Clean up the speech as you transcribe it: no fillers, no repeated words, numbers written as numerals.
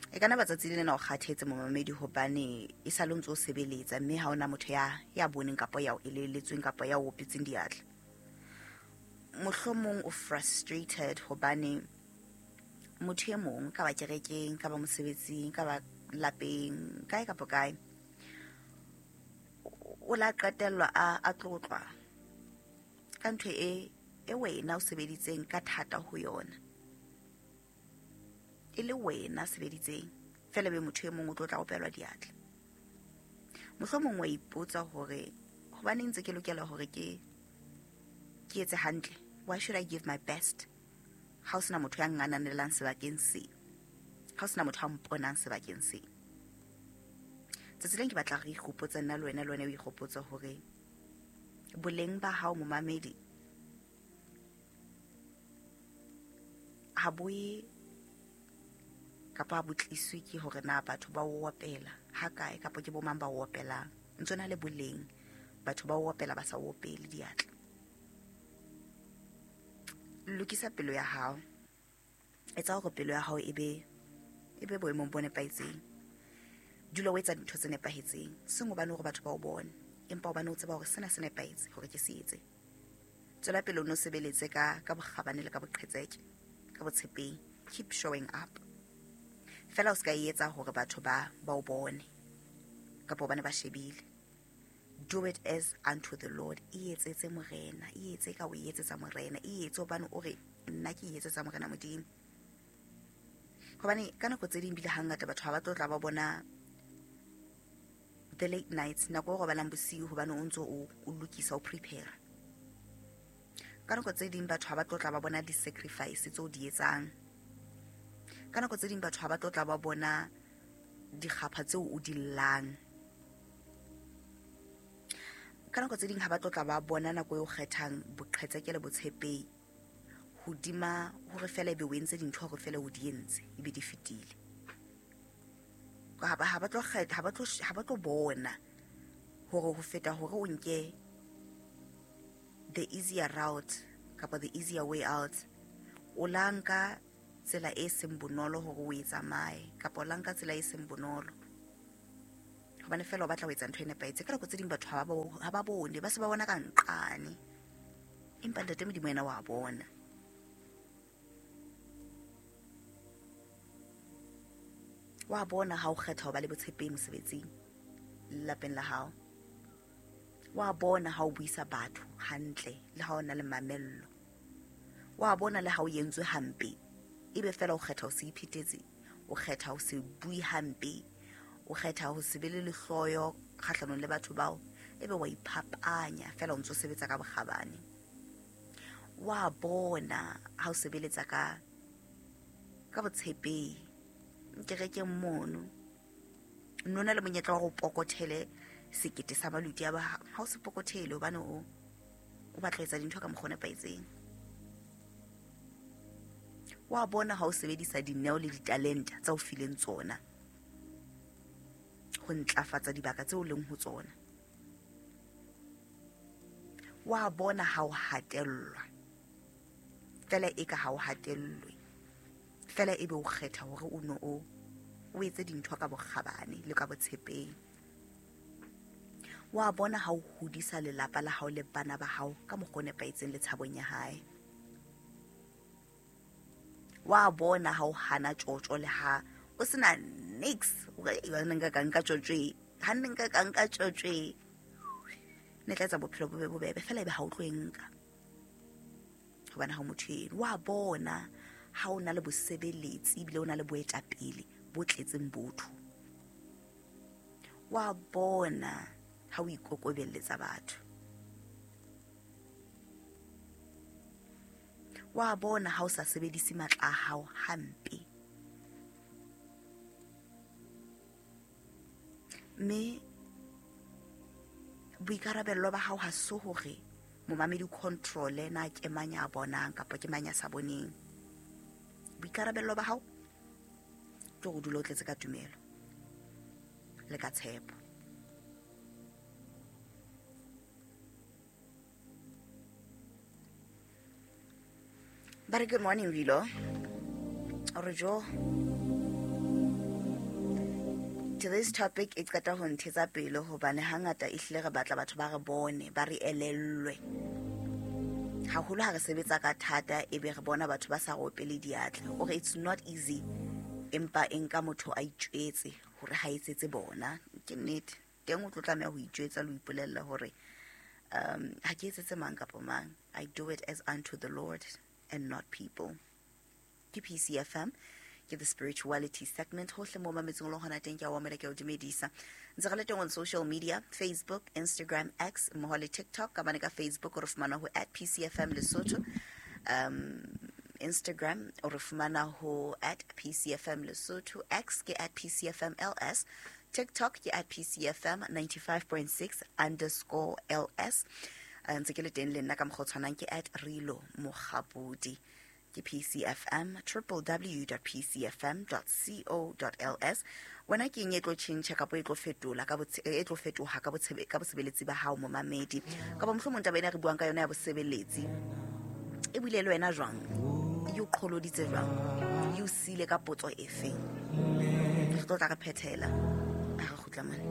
E ka na batsatsi le lena o kgathetse momamedi hobane e sa le ntse o sebeletsa mme ha ona motho ya boneng kapa ya o elelletsweng kapa ya o opetseng diatla. Mohlomong o frustrated hobane motho e mong ka ba kerekeng, ka ba mosebetsing, ka ba lapeng, kae kapa kae, o la qetellwa a tlotlwa ka ntho e wena o sebeditseng ka thata ho yona. E le wena sebeditseng fela be motho e mong o tlo tla opelwa diatla. Mohlomong wa ipotsa hore hobaneng ntse ke lokela hore ke etse hantle. Why should I give my best? Ha o sena motho ya ngananelang sebakeng se, ha o sena motho a mponang sebakeng se. Tsatsi leng ke batla re ikgopotse nna le wena, le wena o ikgopotse hore boleng ba hao momamedi ha bo ye kapa ha bo tliswe ke hore na batho ba o opela ha kae kapa ke bo mang ba o opelang. Ntse na le boleng, batho ba o opela ba sa o opele diatla. Lokisa pelo ya hao, etsa hore pelo ya hao e be boemong bo nepahetseng. Dula o etsa dintho tse nepahetseng, seng hobane hore batho ba o bone, empa hobane o tseba hore sena se nepahetse hore ke se etse. Tswela pele o no sebeletse ka bokgabane le ka boqhetseke, ka botshepehi. Keep showing up. Fela o ska e etsa hore batho ba o bone kapa hobane ba shebile. Do it as unto the Lord. E etsetse morena, e etse ka o etsetsa morena, e etse hobane o re nna ke e etsetsa morena Modimo. Hobane ka nako tse ding bile hangata batho ha ba tlo tla ba bona the late nights, nako e robalang bosiu hobane o ntso o lokisa, o prepare. Ka nako tse ding batho ha ba tlo tla ba bona di-sacrifice tseo di etsang. Ka nako tse ding batho ha ba tlo tla ba bona dikgapha tseo o di llang. Ka nako tse ding ha ba tlo tla ba bona nako eo kgethang boqhetseke le botshepehi hodima hore fela ebe o entse dintho hore fela o di entse ebe di fetile. Ha ba tlo kgetha, ha ba tlo bona hore ho feta hore o nke the easier route kapa the easier way out, o la nka tsela e seng bonolo hore o e tsamaye kapa o la nka tsela e seng bonolo hobane fela o batla ho etsa ntho e nepahetseng. Ka nako tse ding batho ha ba bone, ba se ba bona ka nqane, empa Ntate Modimo yena wa bona. Wa bona ha o kgetha ho ba le botshepehi mosebetsing le lapeng la hao. Wa bona ha o buisa batho hantle le ha o na le mamello. Wa bona le ha o entswe hampe, ebe fela o kgetha ho se iphetetse, o kgetha ho se bue hampe, o kgetha ho se be le lehloyo kgahlanong le batho bao, ebe wa iphapanya fela o ntso sebetsa ka bokgabane. Wa bona ha o sebeletsa ka botshepehi kerekeng mono, nona le monyetla wa go pokothele sekete sa maluti a ba ha o se pokothele hobane o batla ho etsa dintho ka mokgwa o nepahetseng. Wa bona ha o sebedisa dineo le ditalenta tsa o fileng tsona ho ntlafatsa dibaka tseo leng ho tsona. Wa bona ha o hatellwa fela e ka ha o hatellwe fela ebe o kgetha hore o no o etse dintho ka bokgabane le ka botshepehi. Wa bona ha o hodisa lelapa la hao le bana ba hao ka mokgwa o nepahetseng le tshabong ya hae. Wa bona ha o hana tjotjo le ha o sena nix, hore nka ka nka tjotjo e, ha nne nka ka nka tjotjo e, ne tla etsa bophelo bo be bobebe fela ebe ha o tlo e nka hobane ha o motho eno. Wa bona ha o na le bosebeletsi ebile o na le boetapele bo tletseng botho. Wa bona ha o ikokobelletsa batho. Wa bona ha o sa sebedise matla a hao hampe. Mme boikarabello ba hao ha se hore momamedi control-e na ke mang ya bonang kapa ke mang ya sa boneng. Boikarabello ba hao ke hore o dule o tletse ka tumelo le ka tshepo. Ba re good morning Vilo. Ore jo. Today's topic e qeta ho nthetsa pelo hobane hangata ehlile re batla batho ba re bone, ba re elellwe. Haholo ha re sebetsa ka thata ebe re bona batho ba sa re opele diatla. O re it's not easy, empa e nka motho a itjwetse hore ha etsetse bona. Ke nnete. Teng o tlo tlameha ho itjwetsa le ho ipolella hore ha ke etsetse mang kapa mang. I do it as unto the Lord and not people. Ke PCFM, ke the spirituality segment. Hohle mo mametseng le hona teng, ke a o amela, ke a o dumedisa. Ntse re le teng on social media, Facebook, Instagram, X mmoho le TikTok. Ka bane ka Facebook o re fumana ho @PCFMLesotho, Instagram o re fumana ho @PCFMLesotho, X ke @PCFMLS, TikTok ke @PCFM95.6_LS. Ntse ke le teng le nna ka mokgwa o tshwanang, ke @RiloMogabudi. Ke PCFM, www.pcfm.co.ls. Wena ke eng e tlo tjhentjha kapa e tlo fetola ka e tlo fetoha ka bosebeletsi ba hao, momamedi? Kapa mohlomong taba ena re buang ka yona ya bosebeletsi e buile le wena jwang, e o qholoditse jwang, e o siile ka potso efeng? Re tlo tla re phethela ha re kgutla mane.